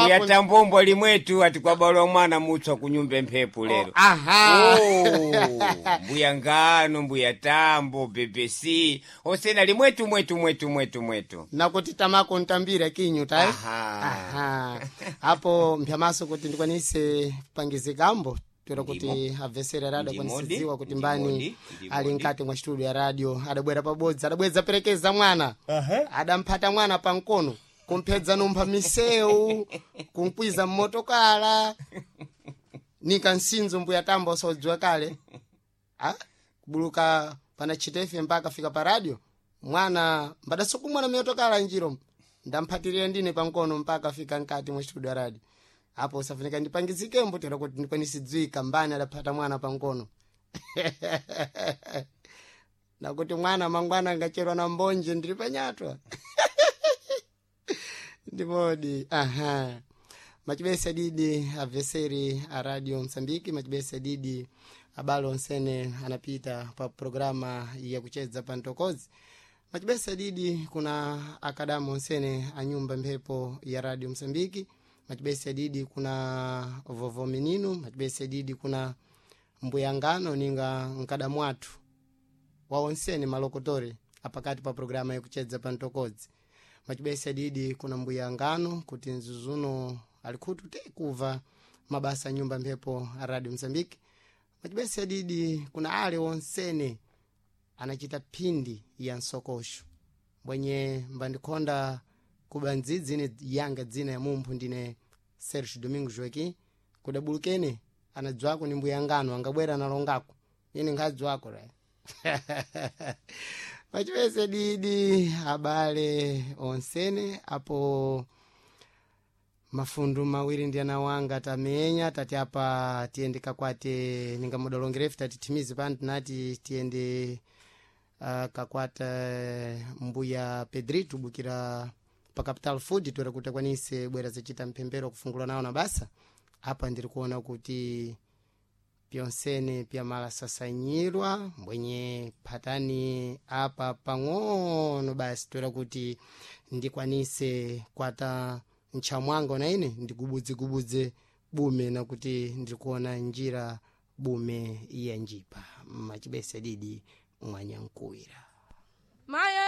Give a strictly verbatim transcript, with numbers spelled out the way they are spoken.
Mbuya Tambombwa limwetu ati kwabalwa mwana mutswa kunyumba mphepo lero. Aha. Oh, mbuya Ngano, mbuya Tambo, B B C osena limwetu mwetu mwetu mwetu mwetu. Nakuti tamako ntambira kinyu tayi. Aha. Aha. Apo mpyamaso kuti ndikwanise kupangizikambo toera kuti abvesere radio Ndimodi, akwanisidziwa kuti mbani ndimodi, ndimodi. ali mkati mwa studio ya radio adabwera pabodzi, adabweza perekeza mwana, adamphata mwana pankono, kumphedza numpha misewu, kunkwiza mmotokala nika nsinzo. Mbuya Tambo osaudziwa kale, ah? Kubuluka pana chitefe mpaka fika pa radio mwana mbadasokumwana miyotokala njiro ndamphatirira ndine pankono mpaka fika nkati mwa studio ya radio. Apo usafunika ndipangizikembo tera kuti ndikwanisidziwika mbani adaphata mwana pankono, nakuti mwana mangwana angacherwa na mbonje ndiri panyatwa. Ndimodi. Aha, machibesa didi abveseri a Radio Msambiki, machibesa didi abalo onsene anapita pa programa ya kuchedza pa ntokozi, machibesa didi kuna akadamu onsene a nyumba mphepo ya Radio Msambiki, machibesa didi kuna vovo mininu, machibesa didi kuna mbuyangano ninga nkadamu athu wa onsene malokotori apakati pa programa yakuchedza pa ntokodzi, machibesa didi kuna mbuya Ngano kuti nzuzuno alikhutu te kuva mabasa a nyumba mphepo a Radio Msambiki, machibesa didi kuna ale onsene anachita phindi ya nsokosho mbwenye mbandikhonda kuba ndzidzi ine yanga dzina ya mumphu ndine Sergio Domingo Joaquim kudabulukene anadzwako ni mbuya Ngano angabwera analongako ine nkhadzwako ra. Pachipese didi abale onsene apo mafundu mawiri ndi ana wanga tamenya tati apa tiyende kakwate ningamudalongerefu tati timizi pano tinati tiyende uh, kakwata mbuya Pedrito bukira pa Capital Food toera kuti akwanise bwera zacita mphembero kufungula nawo na basa. Apa ndiri kuona kuti pyonsene pyamalasasanyirwa mbwenye phatani apa pang'ono basi toera kuti ndikwanise kwata ntchamwanga na ine ndigubudzegubudze bume nakuti ndikuona njira bume ya njipa. Machibese didi mwanyankuwira. Maye.